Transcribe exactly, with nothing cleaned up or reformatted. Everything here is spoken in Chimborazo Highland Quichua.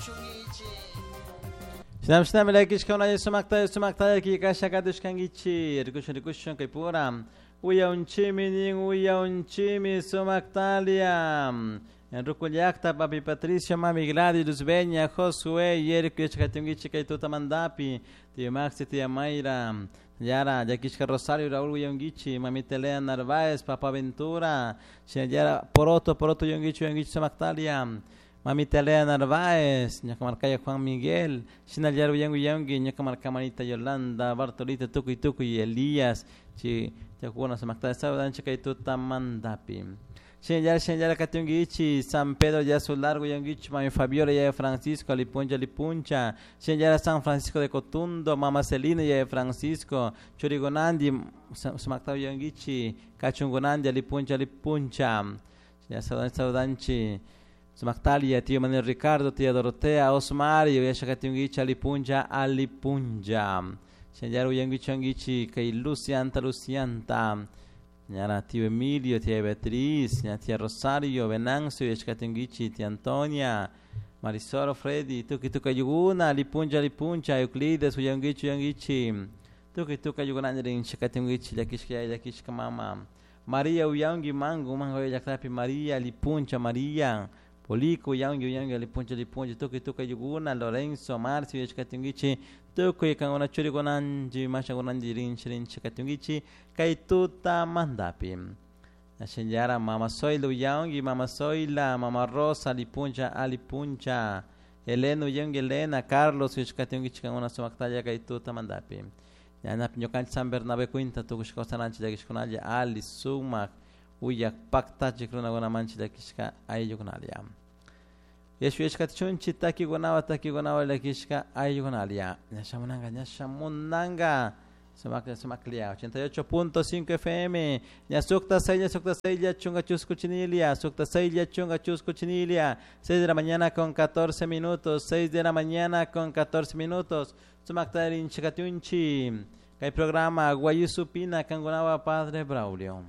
Katushungichi. Shinam llakishka sumakta sumakta kasha katushkankichi rikushun rikushun kay pura uyaunchimi nin uyaunchimi sumaktalia Rukullakta papi Patricio mami Gladys Luzbeña Josué Yeriko yachakatunkichi kay tutamandapi tío Maxi tía Mayra Yara llakishka Rosario Raúl uyaunkichi mamita Elena Narváez papa Ventura Yara poroto poroto uyaunkichi uyaunkichi sumaktalia Mamita Elena Narváez, ñuka marcaya Juan Miguel, Shinallar uyangu uyangi, ñuka marca manita Yolanda, Bartolita Tukuy Tukuy, Elías, chi chakuna sumakta sabadancha kay tutamandapi. Shinallar shinallar katungichi, San Pedro Yasu Largo uyangichi, Mami Fabiola ya Francisco, Alipuncha Alipuncha, Shinallar San Francisco de Cotundo, Mama Celina ya Francisco, Churigonandi, sumakta uyangichi, Kachungonandi, Alipuncha Alipuncha, Shinallar sabadanchi, Sumaktalia, tío Manuel Ricardo, tía Dorotea, Osmario, Yashakatungichi, Alipunja, Alipunja. Shanyaru Yangichi, Yangichi, Kay Lucianta, Lucianta. Ñara tío Emilio, tía Beatriz, tía Rosario, Venancio, Yashakatungichi, tía Antonia, Marisol, Freddy, Tuki Tuka Yuguna, Alipunja, Alipunja, Euclides, Yangichi, Yangichi. Tuki Tuka Yuguna, Shakatungichi, Yakishka, Yakishka, Mama. María Uyangi, Mango, Mango, Yaktapi, María, Alipuncha, María. Polico, uyangi, uyangi, alipuncha, alipuncha, tukuy, tukuy, yuguna, Lorenzo, Marcio, yachkatungichi, tukuy, kanguna, churikunanji, mashakunanji, rinchi, rinchi, katungichi, kay tuta mandapi. Nashinyara, mama Zoila, uyangi, mama Zoila, mama Rosa, alipuncha, alipuncha, Elena, uyangi, Elena, Carlos, yachkatungichi, kanguna, sumaktalla, kay tuta mandapi. Ñanapi, ñukanchik San Bernabé cuinta, tukushkawsananchik, llakishkunalla, ali, sumak, uyak paktachik runakunamanchik llakishka ayllukunalia. Yashuyashkatichunchik takikunawan takikunawan llakishka ayllukunalia. Ñashamunanka ñashamunanka sumaklla sumaklia ochenta y ocho punto cinco F M ñasukta seis ñasukta seis chunga chusku chinilia sukta seis chunga chusku chinilia seis de la mañana con catorce minutos seis de la mañana con catorce minutos sumaktarin chikatiunchi kay programa Guayusupina kankunawa Padre Braulio.